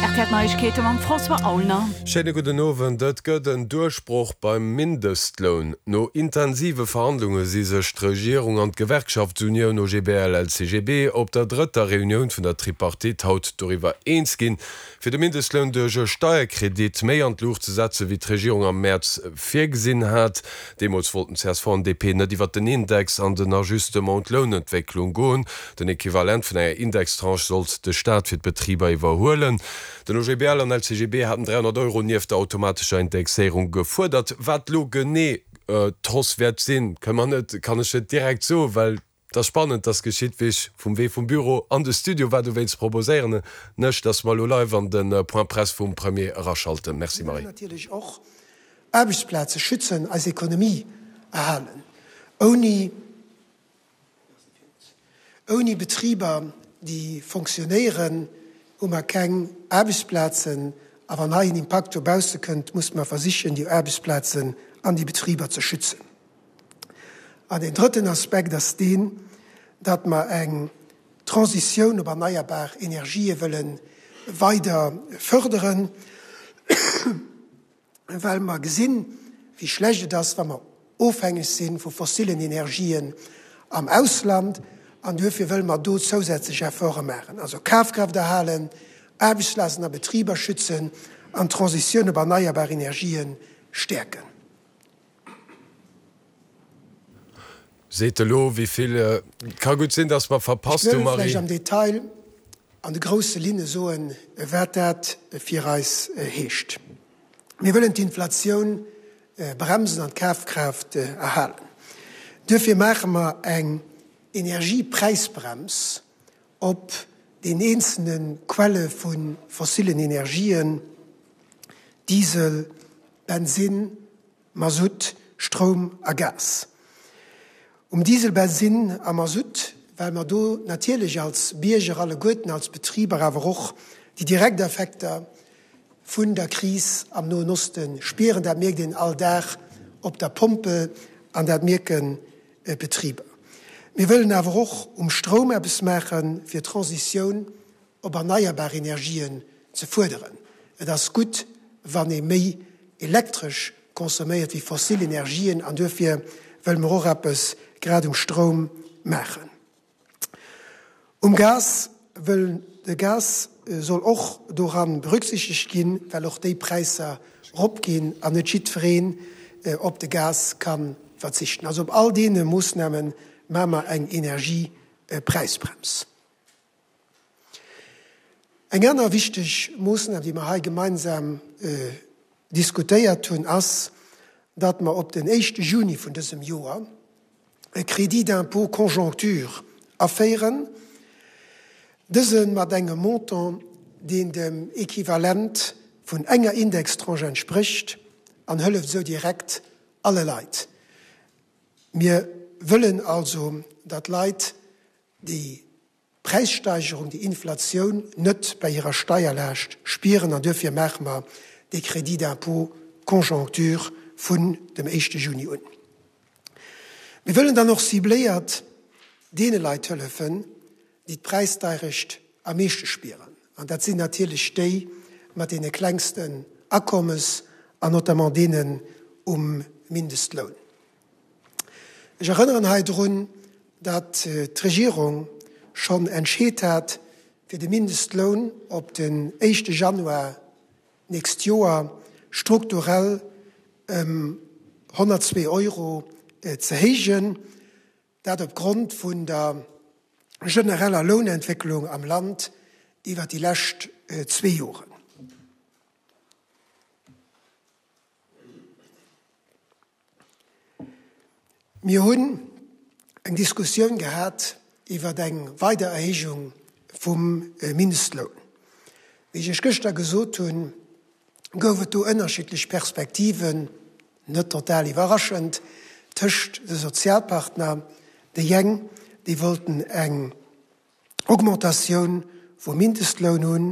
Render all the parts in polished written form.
Rtl Neiegkeete mam François Aulner. Schéine gudden Owend. Et gëtt en Duerchbroch beim Mindestloun. No intensive Verhandlunge si sech d'Regierung an d'Gewerkschaftsunioun OGBL-LCGB op der drëtter Reunioun vun der Tripartite haut doriwwer eens ginn, fir de Mindestloun duerch e Steierkredit méi an d'Luucht ze setzen, wéi d'Regierung am Mäerz virgesinn hat. Deemools wollten csv an DP net iwwert den Index an den Ajustement un d'Lounentwécklung goen. Den Equivalent vun enger Indextranche sollt de Staat fir d'Betriber iwwerhuelen. Den OGBL an LCGB haten 300 Euro nieft der automatescher Indexéierung gefuerdert. Wat elo genee d'Hausse wäert sinn, kënne mer net, kann ech net direkt soen, well et ass spannend, dass geschitt, wéi ech vum Wee vum Büro an de Studio war. Dowéinst proposéieren ech, dass mer elo live an de Point Presse vum Premier eraschalten. Merci Marie. Natierlech och Aarbechtsplaze schützen, eis Ekonomie erhalen. Ouni Ouni Betriber, déi fonctionnéieren, hu mer keng Aarbechtsplazen. A wann hei en Impakt dobausse kënnt, musse mer versichen, déi Aarbechtsplazen an déi Betriber ze schützen. An deen drëtten Aspekt ass deen, datt mer eng Transitioun op erneierbar Energië wëlle weider fërderen. Well mer gesinn, wéi schlecht et ass, wa mer ofhängeg si vu fossilen Energien am Ausland. An duerfir wëlle mer do zousätzlech Efforte maachen. Also Kafkraaft erhalen, Aarbechtsplazen a Betriber schützen an d'Transitioun op erneierbar Energië stäerken. Seet elo wéi vill. Et ka gutt sinn, datt mer verpasst Ech wëll vläicht am Detail an de grousse Linne soen, wat dat fir eis heescht. Mir wëllen d'Inflatioun bremsen an d'Kafkraaft erhalen. Duerfir maache mer eng Energiepräisbrems op den eenzelne Quelle vu fossillen Energien, Diesel, Bensinn, Masutt, Stroum a Gas. Um Diesel, Bensinn a Masutt, well mer do natierlech als Bierger alleguerten, als Betriber awer och déi direkt Effekter vun der Kris am Noen Oste spieren. Dat mierkt een all Dag op der Pompel an dat mierken d'Betriber. Mir wëllen awer och um Stroum eppes maachen, fir d'Transitioun op erneierbar Energien ze fuerderen. Et ass gutt, wann ee méi Elektresch consomméiert wéi fossil Energien an duerfir wëlle mer och eppes grad um Stroum maachen. Um Gas wëll de Gas soll och doran berücksichtegt ginn, well och déi Präisser ropginn an net jiddwereen op de Gas ka verzichten. Also op all deene Moossname maache mer eng Energiepräisbrems. Eng aner wichteg Moossnam, déi mer hei gemeinsam diskutéiert hunn, ass, datt mer op den éischte Juni vun dësem Joer e Crédit d'impôt conjoncture aféieren, dëse mat engem Montant, deen dem Equivalent vun enger Indextranche entsprécht an hëlleft esou direkt alle Leit. Mir wëllen also, datt Leit, déi Präissteigerung, déi Inflatioun net bei hirer Steierlaascht spieren an duerfir maache mer dee Crédit d'impôt conjoncture vun dem éischte Juni un. Mir wëllen dann och cibléiert deene Leit hëllefen, déi d'Präisdeirecht am meeschte spieren an dat sinn natierlech déi mat deene klengsten Akommes an notamment deenen um Mindestloun. Ech erënneren hei drun, datt d'Regierung schonn entscheet hat, fir de Mindestloun op den éischte Januar d'nächst Joer strukturell ëm 102 Euro ze héijen, dat op Grond vun der genereller Lounentwécklung am Land iwwert déi lescht zwee Joren. Mir hunn eng Diskussioun gehat iwwer eng weider Erhéijung vum Mindestloun. Wéi ech Iech gëschter gesot hunn, gouf et do ënnerschiddlech Perspektiven, net total iwwerraschend, tëscht de Sozialpartner. Déi eng, déi wollten eng Augmentatioun vum Mindestloun hunn,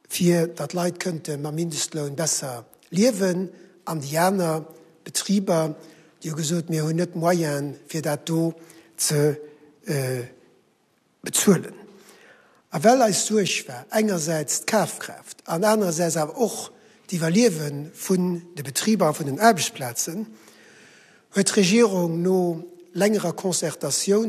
fir datt d'Leit kënnte mam Mindestloun besser liewen, an déi aner Betriber, déi hu gesot, mir hunn net d'Moyene fir dat do ze bezuelen. A well eis Suerg war, engersäits d'Kafkraaft an anerersäits awer och d'Iwwerliewe vun de Betriber a vun den Aarbechtsplazen, huet d'Regierung no längerer Concertatioun de.